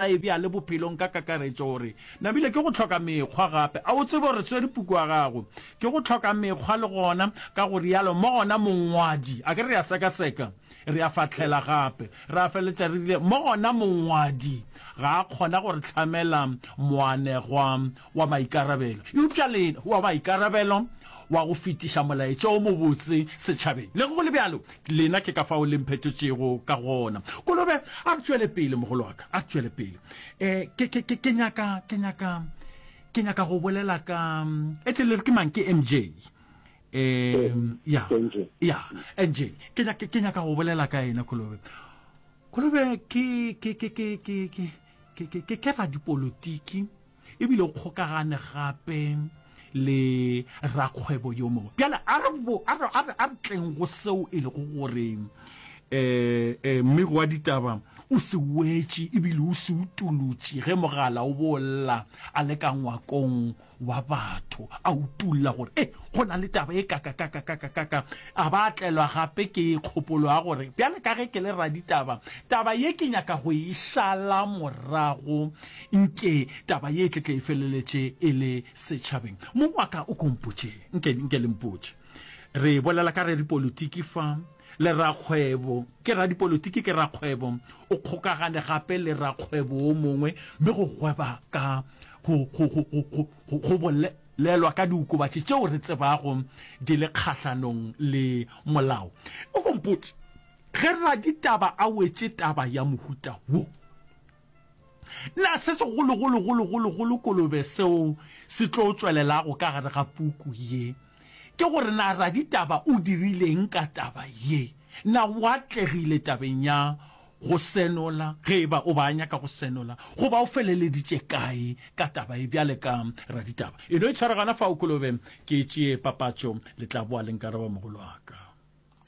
E bjale bophelong ka kakaretšo gore nabile ke go hloka mekgwa gape. A o tsebe gore swere puku ya gago ke go hloka mekgwa le gona, ka go realo mo gona mongwadi, a ke re a sekaseka, re a fahlela gape, ra feleletša re rile mo gona mongwadi ga a kgona go re hlamela moanegwa wa maikarabelo, eupša le wa maikarabelo wa go fetiša molaetša o mobotse setšhabeng. Le ge go le bjalo, Lena ke ka fao le mphetotšego ka gona. Kolobe, a re tšwele pele, mogolo wa ka, a re tšwele pele. Um ke, ke, ke, ke nyaka, ke nyaka, ke nyaka go bolela ka, etse le re ke mang, ke MJ. Um, ya, ya, NJ. Ke nyaka, ke nyaka go bolela ka yena, Kolobe. Kolobe ke, ke, ke, ke, ke, ke, ke, ke, ke, ke radipolotiki. E bile o kgokagane gape le rakgwebo yo mongwe. Bjale a re, a re, a re, a re tleng go seo e lego gore um um mmegi wa ditaba o se wetše ebile o se utolotše ge mogala o bo lla a le ka ngwakong wa batho, a utolla gore e go na le taba e kakakakakakaka. A ba a tlelwa gape ke kgopolo ya gore bjale ka ge ke le raditaba, taba ye ke nyaka go e šala morago Nke taba ye e tle tle e feleletše e le setšhabeng. Mong wa ka o ko mpotše, nke, nke le mpotše. Re bolela ka radipolitiki fa, le rakgwebo. Ke radipolitiki, ke rakgwebo. O kgokagane gape le rakgwebo wo mongwe, mme go gweba ka, go, go, go, go, go, go, go bolelwa ka diokobatši tšeo re tsebago di le kgahlanong le molao. O ko mpotše, ge raditaba a wetše taba ya mohuta wo, Na se segologologologologolo kolobe seo se tlo tšwelelago ka gare ga puku ye ke gore na raditaba o dirileng ka taba ye? Na o atlegile tabeng ya go senola, ge e ba o ba a nyaka go senola, goba o feleleditše kae ka taba ye bjale ka raditaba? E no itshwara gona fao kolobe, ke tšee papatšo, le tla boa le nkaraba mogolo wa ka.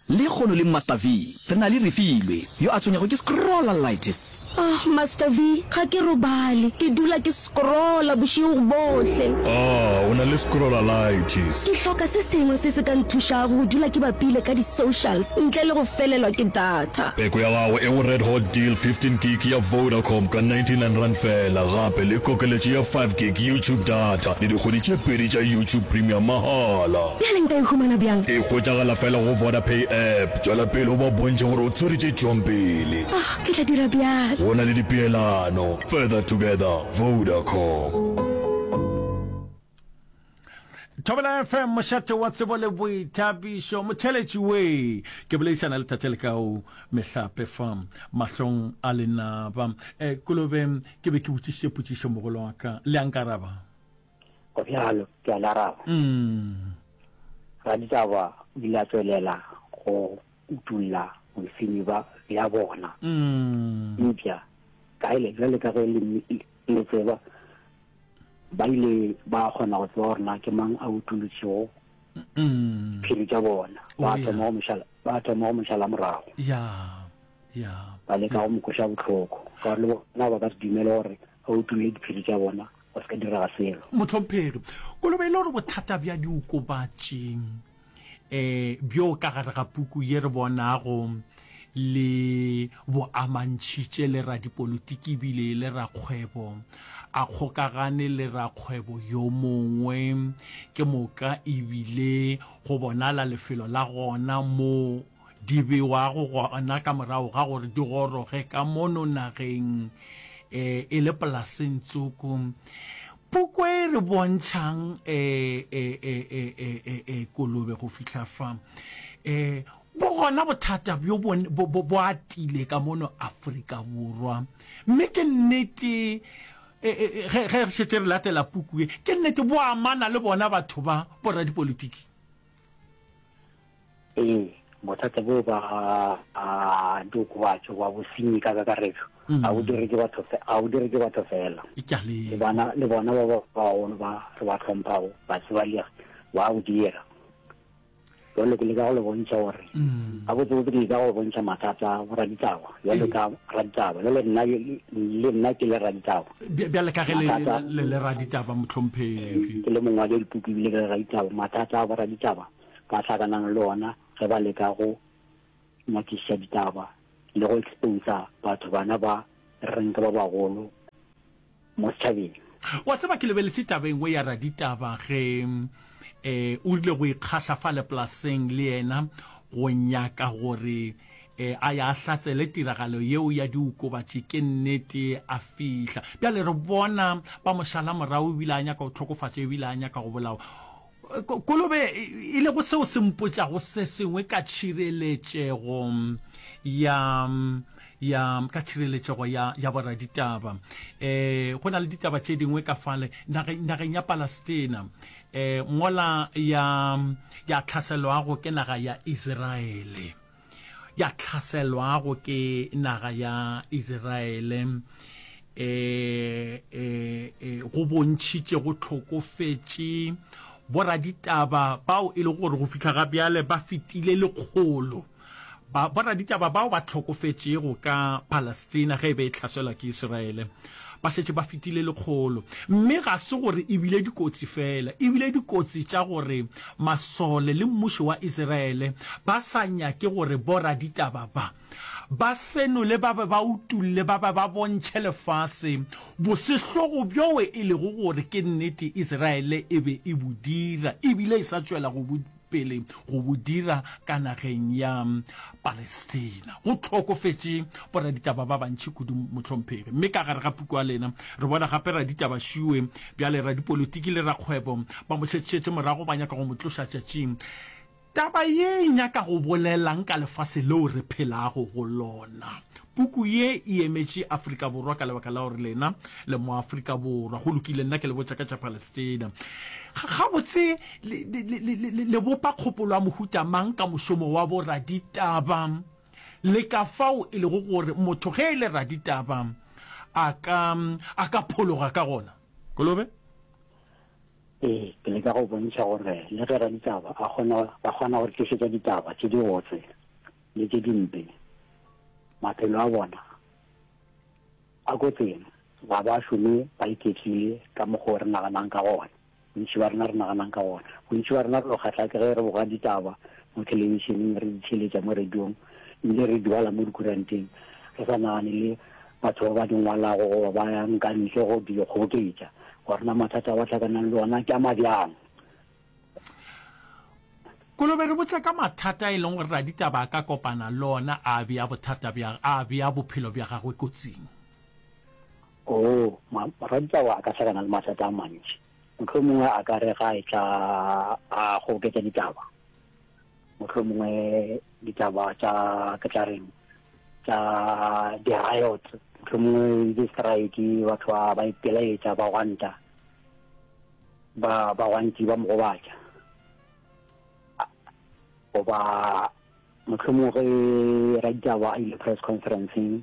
Lekgono le Master V re na le Refilwe yo a tshwenyago ke scrollalitis. Oh, Master V, ga ke robale. Ke dula ke scrolla bošego bohle. Ah, o na le scrollalitis. Ke hloka se sengwe se se ka nthušago go dula ke bapile ka di-socials ntle le go felelwa ke data. Peko ya gago e go Red Hot Deal 15 gig ya Vodacom ka R99 feela, gape le kokeletšo ya 5 gig YouTube data le dikgwedi tše pedi tša YouTube Premium mahala. Bjale nka e humana bjang? E hwetšagala fela go Vodapay app. Tšwela pele o ba bontšhe gore o tswere tše tšwang pele. Oh, ke tla dira bjalo. Go na le dipeelano. Further together, Vodacom. Thobela FM, mošate wa tsebo le boithabišo. Motheeletši we, ke boledišana le Tate Lekau Mehlape fa mahlong a lenaba. Eh, Kolobe, ke be ke botšišitše potšišo mogolo wa ka. Le a nkaraba? Go bjalo, ke a le araba. Raditaba o ile a tšwelela go utolla bosenyi ba bja bona. Eupša kaele bjale ka ge le le tseba, ba ile ba kgona go tseba gore na ke mang a utolotšego phiri tša bona. Ba thoma go mo šala, ba thoma go mo šala morago. Ba leka go mo kweša bohloko, ka gore le bona ba ka se dumele gore a utolle diphiri tša bona. Go se ka direga selo. Mohlomphegi, kolobe e le gore bothata bja diokobatši um bjo ka gare ga puku ye re bonago le bo amantšhitše le radipolitiki ebile e le rakgwebo, a kgokagane le rakgwebo yo mongwe, ke moka ebile go bonala lefelo la gona mo di bewago gona ka morago ga gore di goroge ka mono nageng e, e le polaseng tsoko. Puku e re bontšhang e, e, e, e, e, e, e, kolobe go fihla fa. E, bo gona bothata bjo bo, bo, bo, bo atile ka mono Afrika Borwa. Mme ke nnete e, e, e, ge, ge re šetše re latela puku ye, ke nnete bo amana le bona batho ba boradipolotiki. Ee, bothata bjo ba diokobatši goba bosenyi ka kakaretšo mm. ga bo dire ke batho ga bo dire ke batho fela. Le bona le bona ba bagolo ba re ba tlhomphago ba tsebalegi ba bo dira. Jwale ke leka go le bontšha gore mm. gabotsebotse ke leka go bontšha mathata a boraditaba jwale ka raditaba jwale nna le nna ke le raditaba bjale ka ge le le raditaba mohlomphegi ke le mongwadi wa dipuku ebile ke le raditaba mathata a boraditaba ba hlakanang le ona ge ba leka go nyakišiša ditaba le go exposa batho bana ba reng ke ba bagolo. Mo setšhabeng. Wa tseba, ke lebeletše taba e nngwe ya raditaba ge um o rile go ikgaša fale polaseng le yena go nyaka gore um a ya a hlatsele tiragalo yeo ya diokobatši ke nnete a fihla. Bjale re bona ba mo šala morago ebile a nyaka go hlokofatšwa ebile a nyaka go bolawa. Kolobe e lego seo se mpotšago se sengwe ka tšhireletšego ya ya ka tšhireletšego ya ya boraditaba. Eh go na le ditaba tše dingwe ka fale nageng nageng ya Palestina eh mola ya ya tlhaselwago ke naga ya Iseraele. ya hlaselwago ke naga ya Isiraele e, e, e, go bontšhitše go hlokofetše boraditaba bao e lego gore go fihla ga bjale ba fetile lekgolo. Ba, boraditaba bao ba hlokofetšego ka Palestina ge e be e hlaselwa ke Isiraele ba šetše ba fetile lekgolo. Mme ga se gore e bile dikotsi feela, e bile dikotsi tša gore masole le mmušo wa Isiraele ba sa nyake gore boraditaba ba ba senole ba be ba utolle ba be ba bontšhe lefase bosehlogo bjoe e lego gore ke nnete Isiraele e be e bo dira e bile e sa tšwela go bo pele go bo dira ka nageng ya Palestina. Go hlokofetše boraditaba ba bantši kudu, mohlomphegi. Mme ka gare ga puku ya lena re bona gape raditaba Šue, bjale radipolitiki le rakgwebo ba mo šetšetše morago ba nyaka go mo tloša tšatšing. Taba ye e nyaka go bolelang ka lefase leo re phelago go lona? Puku ye e emetše Afrika Borwa ka lebaka la gore lena le Moafrika Borwa. Go lokile, nna ke le botša ka tša Palestina. Gabotse le, le, le, le, le bopa kgopolo ya mohuta mang ka mošomo wa boraditaba le ka fao e lego gore motho ge e le raditaba a ka, a ka phologa ka gona? Kolobe? Ee, ke leka go bontšha gore le ge raditaba a kgona, ba kgona go re tlišetša ditaba tše dibotse le tše dimpe, maphelo a bona a kotsing. Ga ba šome ba iketlile ka mokgwa o re naganang ka gona. Bontši ba rena re naganang ka gona. Bontši ba rena re no kgahla ke ge re boga ditaba mo thelebišeneng, re di theeletša mo radiong, ebile re di bala mo dikuranteng, re sa nagane le batho ba ba di ngwalago goba ba yang ka ntle go di kgoboketša, gore na mathata a ba hlakanang le ona ke a mabjang. Kolobe re botša ka mathata e leng gore raditaba a ka kopana le ona a bea bothata bja, a bea bophelo bja gagwe kotsing. Oo, ma, raditaba a ka hlakana le mathata a mantši. Mohlomongwe a ka re ga a etla a kgoboketša ditaba, mohlomongwe ditaba tša, ke tla reng, tša di-riot, mohlomongwe di-strike, batho ba, ba ipelaetša, ba gwanta. Ba ba gantši ba mo gobatša. Goba mohlomongwe ge raditaba a ile press conferenceng,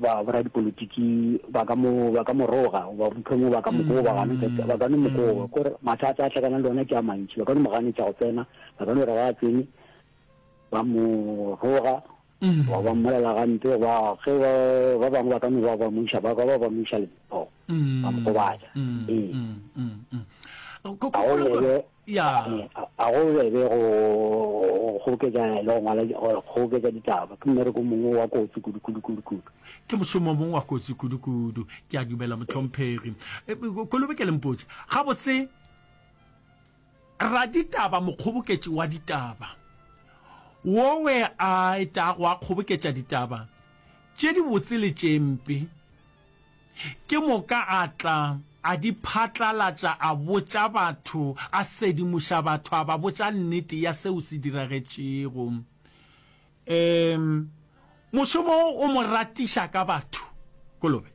ba boradipolotiki ba ka mo ba ka mo roga goba mohlomongwe ba ka mo koba gana mm. ba ka no mo koba mm. kore mathata a tlhakanang le ona ke a mantši ba ka no mo ganetša go tsena ba ka no re ga a tsene ba mo roga Goba ba mmolela gampe, goba ge ba, ba bangwe ba ka no ba ba mo iša, ba ka ba ba mo iša letsogo, ba mo gobatša. Ee. Ga go bebe, ga go bebe go kgoboketša le go ngwala, go kgoboketša ditaba. Ke mmereko mongwe wa kotsi kudu, kudu, kudu, kudu. Ke mošomo mongwe wa kotsi kudu, kudu. Ke a dumela, mohlomphegi. Kolobe ke le mpotše, gabotse, Raditaba, mokgoboketši wa ditaba, wowe a etago a kgoboketša ditaba tše dibotse le tše mpe, ke moka a tla a di phatlalatša, a botša batho, a sedimoša batho, a ba botša nnete ya seo se diragetšego. Um, mošomo wo o mo ratiša ka batho, Kolobe?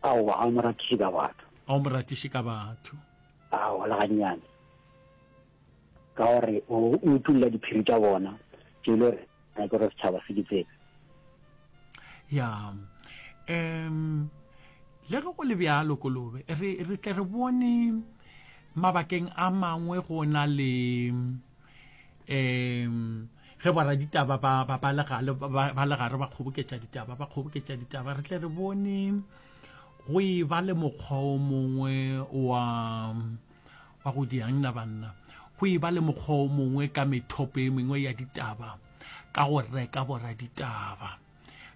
Aowa, ga o mo ratiše ka batho. Ga o mo ratiše ka batho. Aowa, le gannyane. Ka gore o utolla diphiri tša bona, tše e le gore ga ke gore setšhaba se di tsebe. Ya. Um, le ge go le bjalo, Kolobe, re, re tle re bone mabakeng a mangwe go na le um ge boraditaba ba, ba, ba le gale, ba, ba le gare ba kgoboketša ditaba, ba kgoboketša ditaba, re tle re bone Go e ba le mokgwa o mongwe wa, wa go diang na banna, go e ba le mokgwa o mongwe ka methopo e mengwe ya ditaba, ka go reka boraditaba.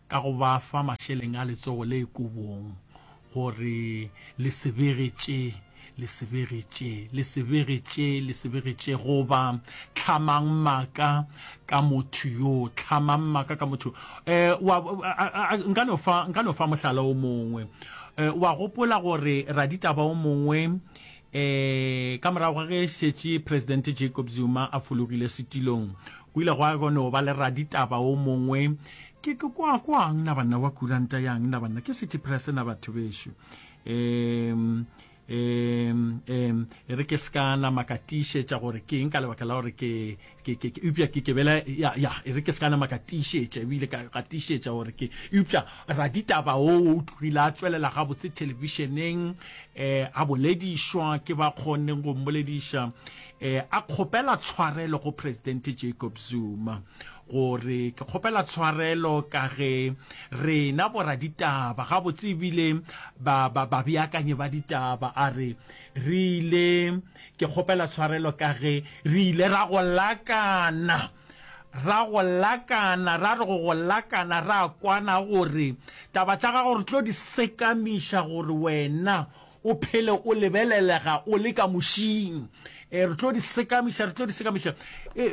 ka go ba fa mašeleng a letsogo le kobong gore le se bege tše, le se bege tše, le se bege tše, le se bege tše, goba hlamang maaka ka motho yo, hlamang maaka ka motho. Eh, wa, nka no fa, nka no fa mohlala o mongwe. Eh, wa gopola gore raditaba o mongwe, eh, ka morago ga ge šetše Presidente Jacob Zuma a fologile setilong, go ile gwa no ba le raditaba o mongwe, ke, ke kwa, kwang na banna wa kuranta yang na banna, ke City Press na batho bešo. Um, um, um, e re ke se ka nama ka tiišetša gore ke eng ka lebaka la gore ke, ke, ke, ke eupša ke, ke bela, ya, ya, e re ke se ka nama ka tiišetša, ebile ka, ka tiišetša gore ke, eupša raditaba o o tlogile a tšwelela gabotse thelebišeneng, um a boledišwa ke ba kgonneng go mmolediša, um a kgopela tshwarelo go Presidente Jacob Zuma. Gore ke kgopela tshwarelo ka ge rena boraditaba, gabotse ebile ba, ba, babeakanyi ba ditaba, a re, re ile, ke kgopela tshwarelo ka ge re ile ra go lakana, ra go lakana, ra re go go lakana, ra kwana gore taba tša gago re tlo di sekamiša gore wena O phele o lebelelega o le ka mošing. E, re tlo di sekamiša, re tlo di sekamiša. E,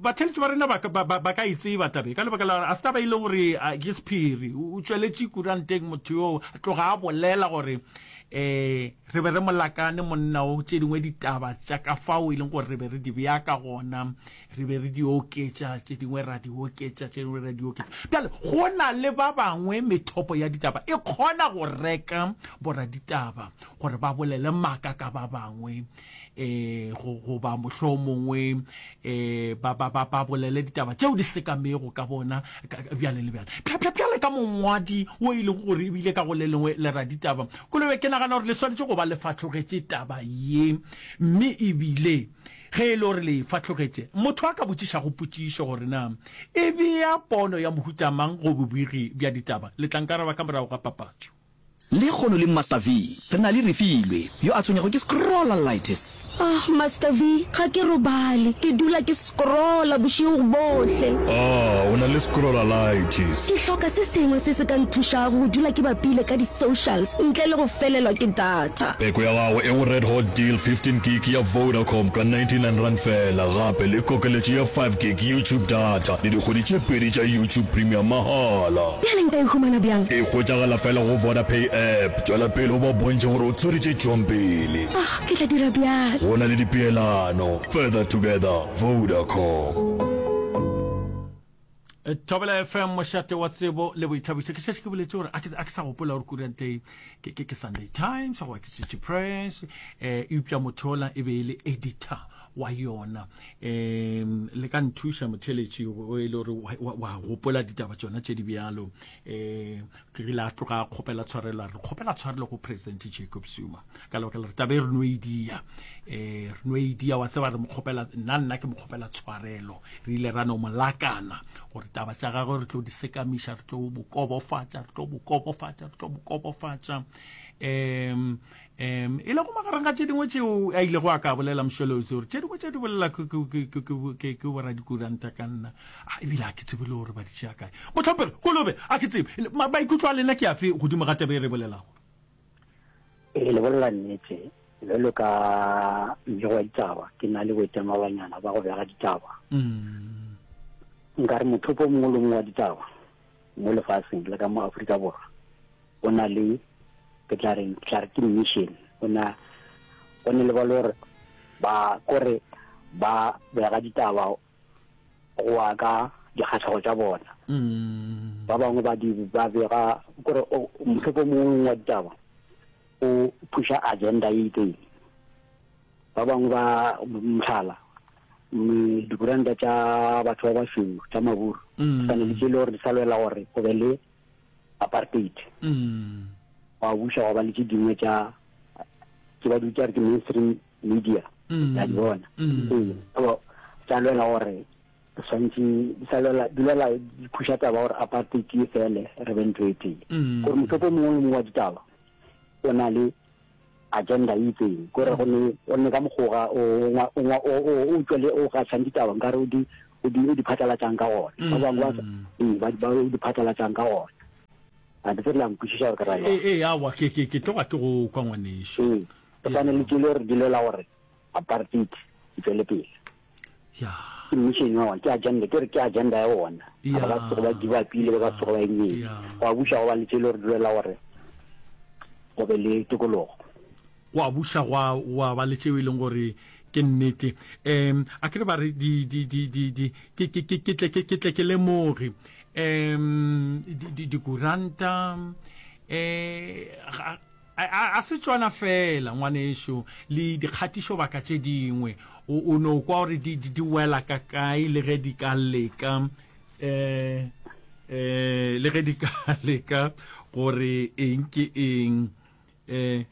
batheletši ba rena ba, ba, ba, ba ka e tseba tabe ka lebaka la gore a se taba e leng gore ke sephiri. O tšweletše kuranteng motho yo tloga a bolela gore um re be re molakane monna o tše dingwe ditaba tša ka fao e leng gore re be re di bea ka gona Re be re di oketša, tše dingwe ra di oketša, tše dingwe ra di oketša. Bjale, go na le ba bangwe methopo ya ditaba e kgona go reka boraditaba gore ba bolele maaka ka ba bangwe, um go, goba mohlomongwe um ba, ba, ba, ba bolele ditaba tšeo di sekamego ka bona, ka, bjale le bjale. Bja, bja, bjale ka mongwadi wo e lego gore ebile ka go le lengwe le raditaba, Kolobe, ke nagana gore le swanetše go ba le fahlogetše taba ye, mme ebile Ge e le gore le e fahlogetše, motho a ka botšišago potšišo gore na e bea pono ya mohuta mang go bobigi bja ditaba, le tla nkaraba ka morago ga papatšo. Lehono le Master V, re na le Refilwe, yo a tshwenyago ke scrollalitis. Ah, Master V, ga ke robale. Ke dula ke scrolla bošego bohle. Ah, o na le scrollalitis. Ke hloka se sengwe se se ka nthušago go dula ke bapile ka di-socials ntle le go felelwa ke data. Peko ya gago e go Red Hot Deal 15 gig ya Vodacom ka R99 feela gape le kokeletšo ya 5 gig YouTube data le dikgwedi tše pedi tša YouTube Premium mahala. Bjale nka e humana bjang? E hwetšagala feela go Vodapay app. Tšwela pele o ba bontšhe gore o tshwere tše tšwang pele. Ah, ke tla dira bjalo. Go na le dipeelano. Further together, Vodacom. Thobela FM mošate wa tsebo le boithabišo. Ke šetše ke boletše gore a ke a ke sa gopola gore kurante e ke ke ke Sunday Times goba ke City Press eh eupša motho ola e be e le editor wa yona. Um le ka nthuša motheletši o e le gore wa wa gopola ditaba tšona tše di bjalo. Eh ke rile a tloga a kgopela tshwarelo a re kgopela tshwarelo go President Jacob Zuma ka lebaka la re taba e re no e dia eh re no e dia wa tseba re mo kgopela nna nna ke mo kgopela tshwarelo Re ile ra no mo lakana gore taba tša gagwe re tlo di sekamiša, re tlo mo kobofatša, re tlo mo kobofatša, re tlo mo kobofatša. Um um e lego magareng ga tše dingwe tšeo a ilego a ka bolela Msholozi gore tše dingwe tše di bolela ke boradikuranta ka nna ebile a ke tsebe le gore ba di tšea kae. Mohlomphegi Kolobe, a ke tsebe maikutlo a lena ke afe godimo ga taba e re bolelago? Ee, le bolela nnete. Bjalo ka mmegi wa ditaba, ke na le boitemoganyana ba go bega ditaba. Nka re mothopo o mongwe le o mongwe wa ditaba mo lefaseng le ka mo Afrika Borwa o na le, ke tla reng, ke tla re ke mission. O na, go ne le ba le gore ba kore ba bega ditaba go ya ka dikgahlego tša bona. Ba bangwe ba di ba bega kore mothopo o mongwe wa ditaba o pusha agenda e itseng. Ba bangwe ba mohlala dikuranta tša batho ba bašweu tša maburu mm. sane le tše le gore di sa lwela gore go be le apartheid mm. wa buša wa ba le tše dingwe tša ke ba di bitša ke mainstream media mm. ya di bona ee tsa lwela gore swantše di sa lwela di lwela di phuša taba gore apartheid e fele re be ntho e tee mm. gore mothopo mongwe le mongwe wa ditaba o na le agenda e itseng kore go ne o ne ka mokgoga o o tswele o gašang ditaba nkare o di o di o di phatlalatšang ka gona. Ba bangwe ba ee ba ba o di phatlalatšang ka gona. A ke tsebe la nkwešiša gore ke ra Ee, jwang. ee, aowa, ke, ke, ke tloga ke go kwa ngwanešu. Ee, go swane le tše le gore di lwela gore apartheid e tšwele pele. Ya. Ke mission ya bona, ke agenda, ke re ke agenda ya bona. Ya. Ba ka se tsoge ba give up-ile, ba ka se tsoge ba eng eng. Ya. Gwa buša gwa ba le tše le gore di lwela gore go be le tokologo. Gwa buša gwa, gwa ba le tšeo e leng gore ke nnete. Um, a ke re ba re di, di, di, di, di, ke, ke, ke, ke tle ke, ke tle ke lemoge. Um, di, di, dikuranta, um, ga, a, a, a se tšona feela, ngwanešu, le dikgatišobaka tše dingwe. O, o no kwa gore di, di, di wela ka kae le ge di ka leka, um, um, le ge di ka leka gore eng ke eng. Eh,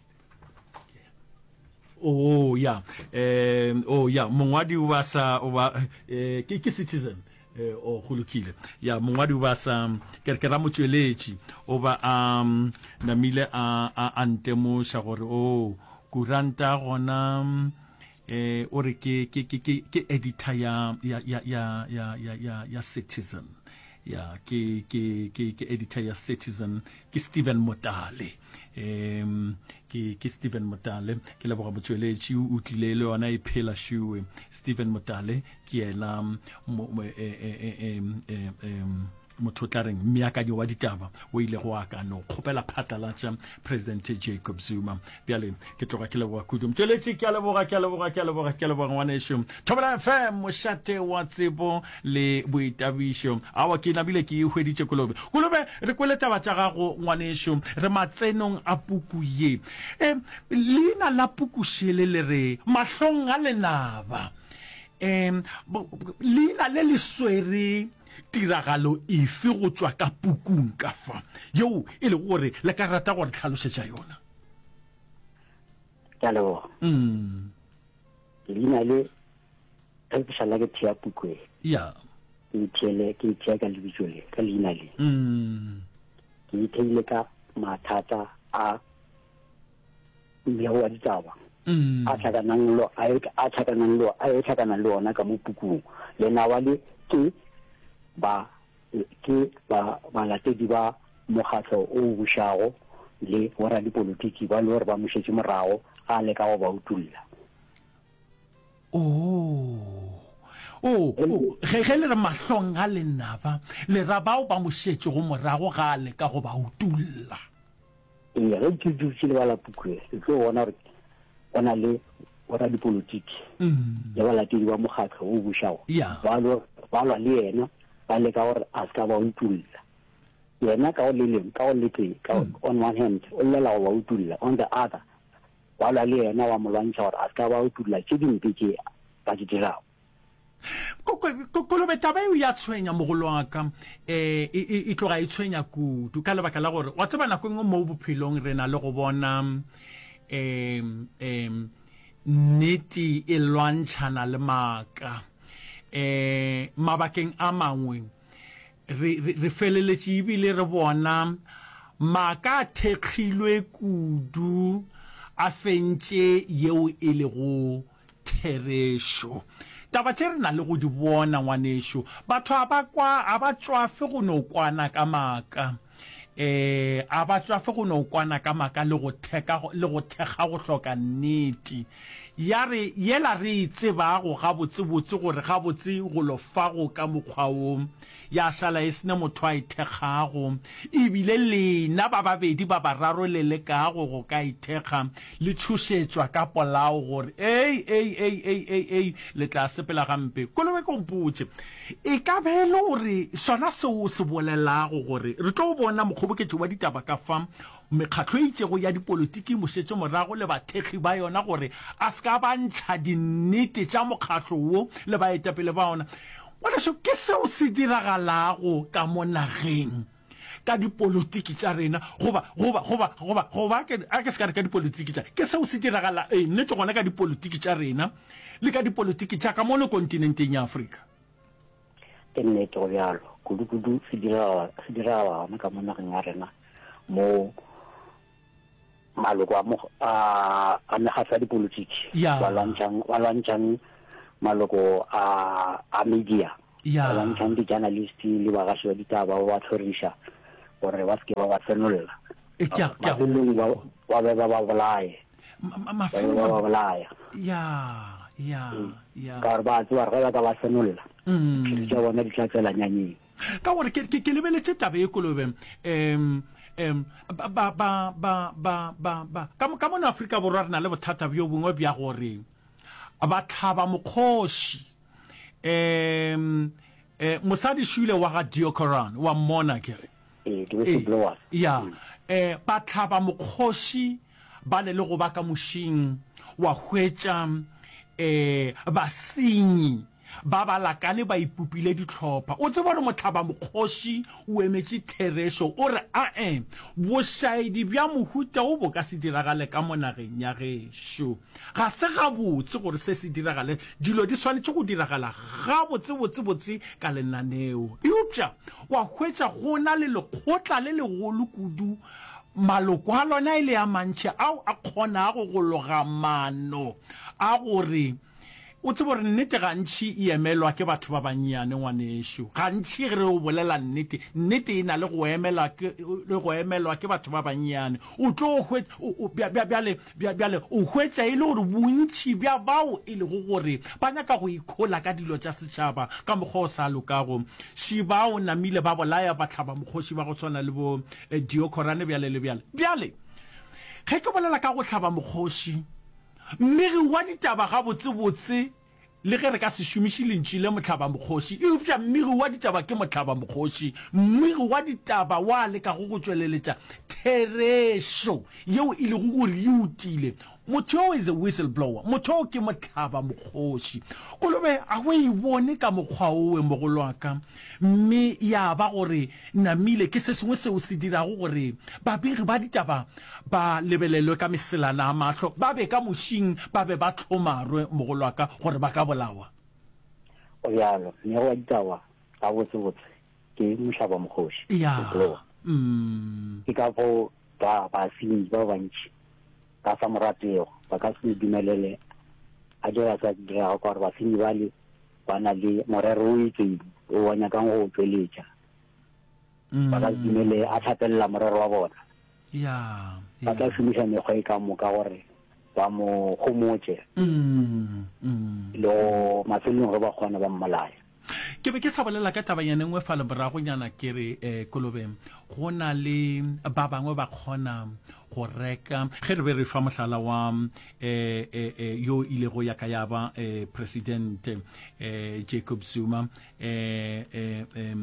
oh ya eh oh ya mongwadi o ba sa o ba eh ke ke citizen eh oh go lokile ya mongwadi o ba sa ke ke ra motšweletši o ba a namile a a a ntemoša gore oh kuranta gona eh o re ke ke ke ke ke editor ya ya ya ya ya ya ya citizen Ya, ke, ke, ke, ke editor ya Citizen, ke Stephen Motale. Um, ke, ke Stephen Motale. Ke leboga motšweletši, o tlile le yona e phela šuwe. Stephen Motale ke yena mo, mo, e, e, e, e, e, e, motho o tla reng mmeakanyo wa ditaba o ilego wa ka no kgopela phatlalatša President Jacob Zuma. Bjale ke tloga ke leboga kudu motšweletši, ke a leboga, ke a leboga, ke a leboga, ke a leboga ngwanešu. Thobela FM, mošate wa tsebo le boitabišo. Aowa, ke nabile ke e hweditše Kolobe. Kolobe, re kwele taba tša gago ngwanešu, re matsenong a puku ye. E, leina la puku šele le re Mahlong a Lenaba. E, leina le le swere tiragalo efe go tšwa ka pukung ka fa, yeo e lego gore le ka rata go re hlalošetša yona? Ke a leboga. Mm. Leina le ge ke šala ke thea puku e. Ya. Ke itheele ke ithea ka lebitso le ka leina le. Mm. Ke itheile ka mathata a mmego wa ditaba. Mm. A tlhakanang lo a a tlhakanang lo a e tlhakanang le ona ka mo pukung. Lenawa le ke ba Ke ba balatedi ba mokgatlo o bušago le boradipolotiki ba le gore ba mo šetše morago ga a leka go ba utolla. Oo, oo, oo, ge, ge le re mahlong a lenaba, le ra bao ba mo šetšego morago ga a leka go ba utolla. Ee, ge ke dutše le bala puku ye, le tlo bona gore go na le boradipolotiki le balatedi ba mokgatlo o bušago ba lwa ba lwa le yena, ba leka gore a se ka ba utolla. Yena ka go le lengwe, ka go le tee, ka on one hand o llela go ba utolla, on the other ba lwa le yena ba mo lwantšha gore a se ka ba utolla tše dimpe tše ba di dirago. Kolobe, taba eo ya tshwenya mogolo wa ka. E, e, e tloga e tshwenya kudu ka lebaka la gore wa tseba nako e nngwe mo bophelong re na le go bona um um nnete e lwantšhana le maaka. Um mabakeng a mangwe re, re, re feleletše ebile re bona maaka a thekgilwe kudu a fentše yeo e lego Therešo. Taba tše re na le go di bona, ngwanešu. Batho a ba kwa, a ba tšwafe go no kwana ka maaka. Ee, a ba tšwafe go no kwana ka maaka le go theka, le go thekga go hloka nnete. Ya re, yela re e tsebago gabotsebotse gore gabotse golo fa go ka mokgwa wo, ya šala e se ne motho a e thekgago. E bile lena ba babedi ba bararo le lekago go ka e thekga, le tšhošetšwa ka polao gore, Ei, ei, ei, ei, ei, ei, le tla sepela gampe. Kolobe ko mpotše, e ka be e le gore sona seo o se bolelago gore re tlo bona mokgoboketši wa ditaba ka fa mekgatlo e itšego ya dipolotiki e mo šetše morago le bathekgi ba yona gore a se ka ba ntšha dinnete tša mokgatlo wo le baetapele ba ona. Ngwanešu, ke seo se diragalago ka mo nageng ka dipolotiki tša rena, goba, goba, goba, goba, goba, ke, a ke se ka re ka dipolotiki tša, ke seo se diragala, ee, nnete gona ka dipolotiki tša rena le ka dipolotiki tša ka mono kontinenteng ya Afrika. Ke nnete go bjalo, kudu-kudu se diragala, se diragala gona ka mo nageng ya rena moo maloko a, a, a mekgatlo ya dipolotiki Ya. ba lwantšhang, ba lwantšhang maloko a, a media. Ya. Ba lwantšhang di-journalist le bagaši ba ditaba ba ba hloriša gore ba se ke ba ba senolla. E, ke a, ke a go Mafelelong ba, ba be ba ba bolaye. Ma, ma, Ba be mafelelong ba ba bolaya. Ya, ya, ya. Ka gore ba tseba gore ge ba ka ba senolla, diphiri tša bona di tla tšwela nyanyeng. Ka gore ke, ke, ke lebeletše taba ye kolobe, um, um, ba, ba, ba, ba, ba, ba, ba, ka, ka mono Afrika Borwa re na le bothata bjo bongwe bja gore ba hlaba mokgoši. Um, eh, mosadi šule wa ga Deokoran, wa mmona ke re. Ee, ke whistleblowers. Ya, eh, ba hlaba mokgoši ba le le go ba ka mošing, wa hwetša eh, basenyi ba ba lakane ba ipopile dihlopha. O tseba gore mohlabamokgoši o emetše therešo, o re, Ae, bošaedi bja mohuta wo bo ka se diragale ka mo nageng ya gešo. Ga se gabotse gore se se diragale. Dilo di swanetše go diragala gabotsebotsebotse ka lenaneo. Eupša wa hwetša go na le lekgotla le legolo kudu, maloko a lona e le a mantši ao a kgonago go loga maano a gore O tsebe gore nnete gantši e emelwa ke batho ba bannyane, ngwanešu. Gantši ge re o bolela nnete, nnete e na le go emela ke, le go emelwa ke batho ba bannyane. O tlo hwetša, o, o, bja, bja, bjale, bja, bjale o hwetša e le gore bontši bja bao e lego gore ba nyaka go ikhola ka dilo tša setšhaba ka mokgwa o sa lokago, še bao namile ba bolaya bahlabamokgoši ba go swana le bo eh, Deokhorane bjale le bjale. Bjale, ge ke bolela ka go hlaba mokgoši, Mmegi wa ditaba gabotsebotse, le ge re ka se šomiše lentšu le mohlabamokgoši, eupša mmegi wa ditaba ke mohlabamokgoši, mmegi wa ditaba wa lekago go tšweleletša therešo yeo e lego gore e utile. Motho yoo is a whistleblower. Motho yoo ke mohlabamokgoši. Kolobe ga o e bone ka mokgwa owe, mogolwaka, mme ya ba gore namile ke se sengwe seo se dirago gore babegi ba ditaba ba lebelelwe ka meselana a mahlo, ba be ka mošing, ba be ba hlomarwe, mogolwaka, gore ba ka bolawa. Go bjalo, mmegi wa ditaba gabotsebotse ke mohlabamokgoši, Ya. whistleblower. Mm. Ke ka fao ba basenyi ba bantši ba sa mo ratego, ba ka se mo dumelele a dira se a se dirago, ka gore basenyi bale ba na le morero o itseng o ba nyakang go o tšweletša. Ba ka se dumele a hlapelela morero wa bona. Ya, Ba tla ya. šomiša mekgwa e ka moka gore ba mo homotše Mm, mm. le go mafelelong ge ba kgona ba mmolaya. Ke be ke sa bolela ka tabanyana e nngwe fale moragonyana ke re eh, Kolobe go na le ba bangwe ba kgona go reka ge re be re fa mohlala wa eh, eh, eh, yo ilego ya ka ya ba eh, presidente eh, Jacob Zuma eh, eh, eh,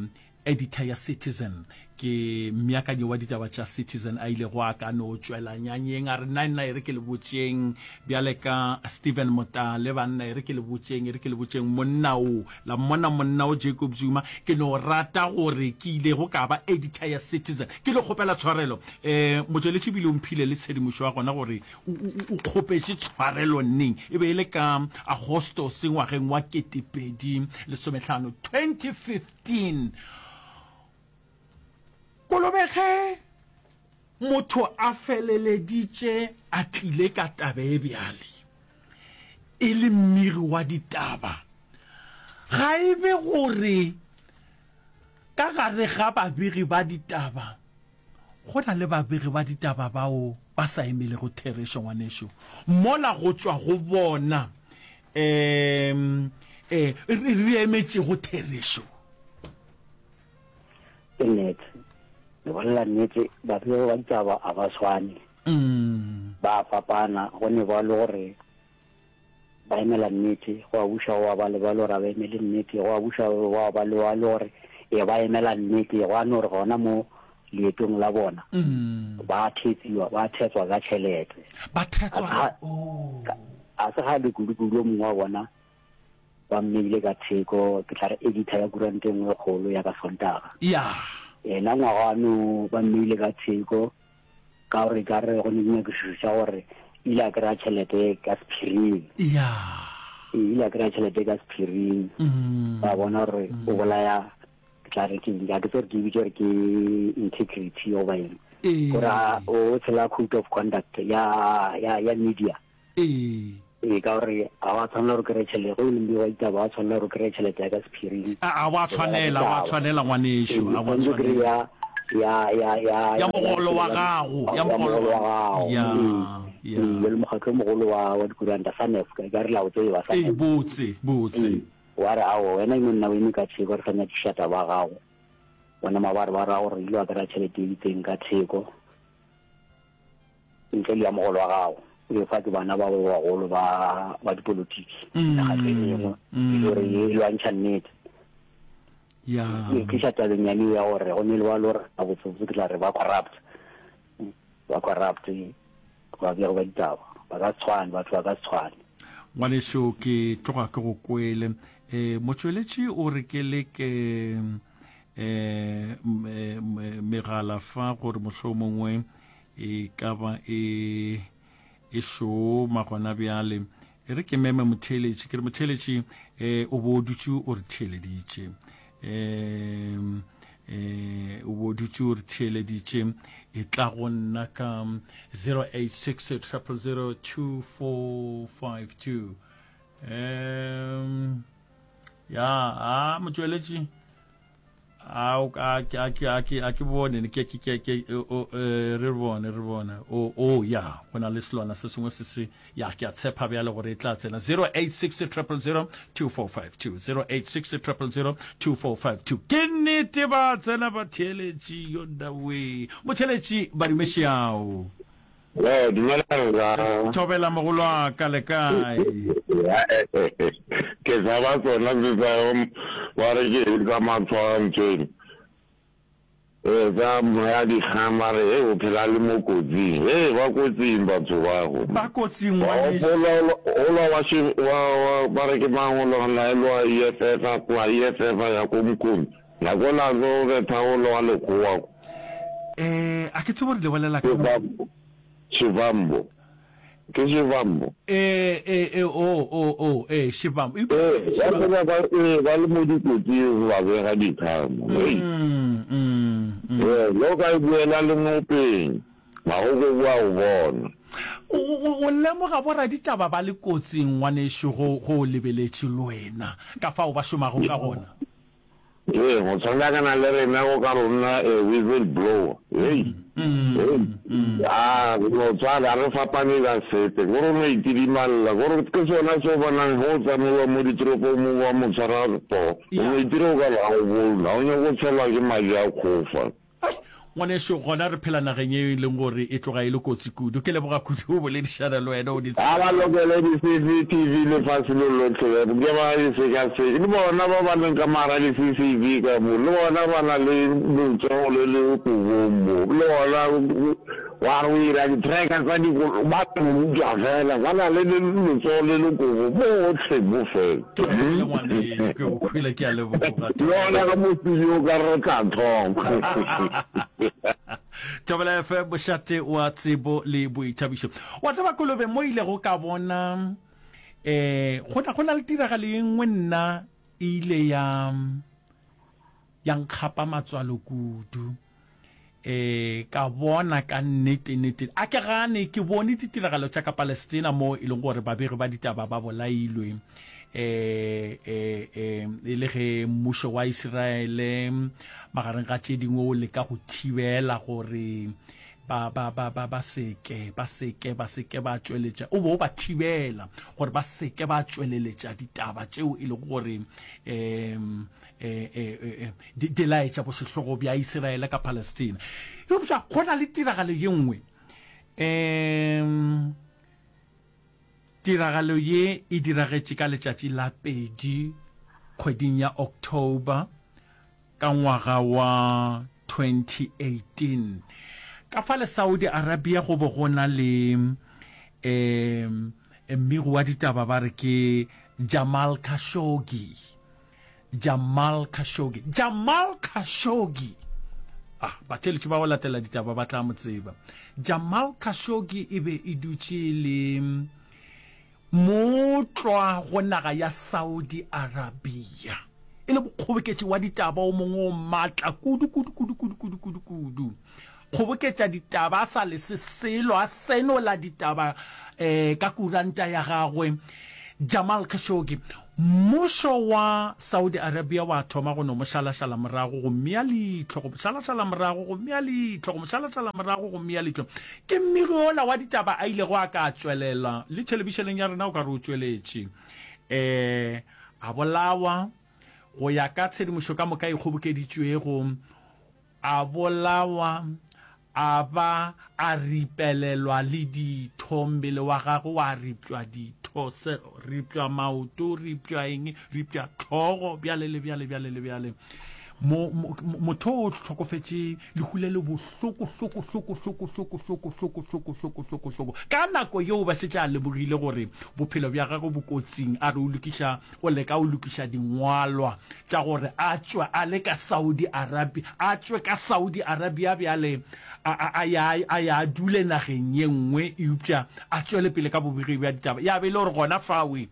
Editor ya Citizen, ke mmeakanyi wa ditaba tša Citizen a ilego a ka no tšwela nyanyeng a re, Nna, nna e re ke le botšeng, bjale ka Stephen Motale, banna e re ke le botšeng, e re ke le botšeng, monna o, la mmona monna o Jacob Zuma, ke no rata gore ke ilego ka ba editor ya Citizen. Ke lo kgopela tshwarelo. Um motšweletši ebile o mphile le tshedimošo ya gona gore o, o, o kgopetše tshwarelo neng. E be e le ka Agostose ngwageng wa 2015, 2015. 15. Kolobe ge motho a feleleditše a tlile ka taba e bjale e le mmigi wa ditaba, ga e be gore ka gare ga babegi ba ditaba go na le babegi ba ditaba bao ba sa emelego therešo, ngwanešu, mola go tšwa go bona um e re emetšego therešo. Ke nnete, le bolela nnete, babegi ba ditaba a ba swane, ba a fapana, go ne ba le gore ba emela nnete, gwa buša gwa ba le ba le gore ga ba emele nnete, gwa buša gwa ba le ba le gore ee ba emela nnete, gwa no re gona mo leetong la bona ba thetsiwa, ba thetswa ka tšhelete. Ba thetswa, oh. A se kgale kudu-kudu yo mongwe wa bona ba mmeile ka theko, ke tla re editor ya kuranta e nngwe e kgolo ya ka Sontaga. Ya. Yena ngwaga ano ba mmeile ka theko ka gore ka re go ne dinyakišišo tša gore ile a kry-a tšhelete ka sephiring. Ya. Ee, ile a kry-a tšhelete ka sephiring. Ba bona gore o bolaya, ke tla re ke, ga ke tsebe gore ke e bitše gore ke integrity goba eng. Ee. Gore o tshela code of conduct ya, ya, ya media. Ee. Ee, ka gore ga wa tshwanela gore o kry-e tšhelete, ge o le mmegi wa ditaba ga wa tshwanela gore o kry-e tšhelete ya ka sephiring. A ga wa tshwanela, ga wa tshwanela ngwanešu, Ee, ga wa tshwanetse o tshwanela. kry-e ya, ya, ya, ya, Ya mogolo wa gago, ya ya mogolo mogolo wa wa gago. Ya, Ee, ya. ee, jwale mokgatlo o mogolo wa, wa dikuranta, SANEF, ka ka re la o tseba, Ee, SANEF. botse, botse. Ee, wa re aowa, wena e no nna o eme ka theko, re sa nyakiša taba ya gago. Bona mabarebare a gore o ile wa kry-a tšhelete e itseng ka theko. Ntle le ya mogolo wa gago, o e fa ke bana ba ba bagolo ba ba dipolotiki, mekgatlo e mengwe, e le gore e lwantšha nnete. Ya. E tliša tabeng ya neo ya gore go ne le ba le gore gabotsebotse ke tla re ba corrupt, ba corrupt ba bego ba ditaba, ba ka se tshwane, batho ba ka se tshwane. Ngwanešu ke tloga ke go kwele. E, motšweletši o re ke leke e, megala fa gore mohlomongwe E ka ba e, e šoma gona bjale. E re ke meme motheeletši, ke re motheeletši, e, o bo o dutše o re theeleditše. E, e, o bo o dutše o re theeleditše. E tla go nna ka 086 000 2452. Um, ya, a motšweletši. A o a ke a ke a ke a ke bone ke ke ke ke o eh, re bone re bone o o ya go na le selwana se sengwe se se ya ke a tshepa bjale gore e tla tsena 086 000 2452 086 000 2452 ke nnete ba tsena ba theeletši yo nna we motheeletši badumešeao Ee, dumela rra. Thobela mogolwaka le kae? Ke tshaba tsona tse tsa ba re ke eng tsa matshwantsweng. Ee, tsa moya dikgang ba re he o phela le mo kotsing. He ba kotsing batho ba go. Ba kotsing ngwanešu. Ola ola wa shi wa wa ba re ke mang ola laelwa EFF a tloga EFF a ya ko Mkhonto. Nako la tlo betha ola wa lekgowa ko. Eh, a ke tsebe gore le bolela ka. Shivambo. Ke Shivambo. Eh, eh, eh, oh, oh, oh, eh, Shivambo. Eh, ba tseba ba, eh, ba le mo dikotsing ba bega dikgang. Hei. Mm, mm, mm. Eh, lo ka e buela le ngopeng, magokobu a go bona. O, o, o lemoga boraditaba ba le kotsing, ngwanešu, go, go o lebeletše le wena, ka fao ba šomago ka gona. Ee, go tshwanakana le rena go ka rona a whistle blower. Hei, hei, a re no tshwana, ga re fapane ka sepe. Ko re no itidimalela, ko re ke sona se o bonang ge o tsamaiwa mo ditoropong mo ba mo tshwara poo, o no itira o ka re ga o bone, ga o nyake go tshelwa ke madi a kgofa. Ai, ngwanešu, gona re phela nageng ye e leng gore e tloga e le kotsi kudu. Ke leboga kudu go boledišana le wena, o di Ga ba lokele di-CCTV lefase lo lohle, ke ba di sekaseke. Le bona ba ba leng ka mogara di-CCV ka mo, le bona ba na le letsogo le le kobong mo. Le bona wa re o ira di-tracker tsa dikolo, ba utswa fela, ba na le letsogo le le kobong bohle mo fela. Ke kwele ngwanešu, ke go kwele, ke a leboga. Le gona ka mo studio o ka re re tla thoma. Thobela FM, mošate wa tsebo le boithabišo. Wa tseba Kolobe, mo ilego ka bona eh go na go na le tiragalo e nngwe nna e ile ya ya nkgapa matswalo kudu. E, ka bona ka nnete, nnete. A ke gane, ke bone ditiragalo tša ka Palestina moo e leng gore babegi ba ditaba ba bolailwe, e, e, e, e le ge mmušo wa Isiraele magareng ga tše dingwe o leka go thibela gore ba, ba, ba, ba, ba seke, ba seke, ba seke ba tšweletša, o bo o ba thibela gore ba seke ba tšweleletša ditaba tšeo e lego gore um di, di laetša bosehlogo bja Isiraele ka Palestina. Eupša go na le tiragalo ye nngwe. Um tiragalo ye e diragetše ka letšatši la pedi kgweding ya October ka ngwaga wa 2018. Ka fale Saudi Arabia go be go na le um mmegi wa ditaba ba re ke Jamal Khashoggi. Jamal Khashoggi. Jamal Khashoggi! Ah, batheeletši ba go latela ditaba ba tla mo tseba. Jamal Khashoggi e be e dutše le mootlwa go naga ya Saudi Arabia. E le mokgoboketši wa ditaba o mongwe o matla kudu, kudu, kudu, kudu, kudu, kudu, kudu. kgoboketša ditaba a sa lese selo, a senola ditaba um ka kuranta ya gagwe, Jamal Khashoggi. Mmušo wa Saudi Arabia wa thoma go no mo šalašala morago, go mmea leihlo, go mo šalašala morago, go mmea leihlo, go mo šalašala morago, go mmea leihlo. Ke mmegi wola wa ditaba a ilego a ka tšwelela le thelebišeneng ya rena, o ka re o tšweletše. Um a bolawa, go ya ka tshedimošo ka moka e kgobokeditšwego, a bolawa, a ba a ripelelwa le ditho, mmele wa gagwe wa ripšwa ditho, se, ripšwa maoto, ripšwa eng, ripšwa hlogo, bjale le bjale, bjale le bjale. Mo, mo, motho o hlokofetše lehu le le bohloko, hloko, hloko, hloko, hloko, hloko, hloko, hloko, hloko, hloko, hloko. Ka nako yeo ba šetše a lemogile gore bophelo bja gagwe bo kotsing, a re o lokiša, o leka o lokiša dingwalwa tša gore a tšwe a le ka Saudi Arabia, a tšwe ka Saudi Arabia bjale a, a, a ya, a ya a dule nageng ye nngwe, eupša a tšwele pele ka bobegi bja ditaba. Ya be e le gore gona fawe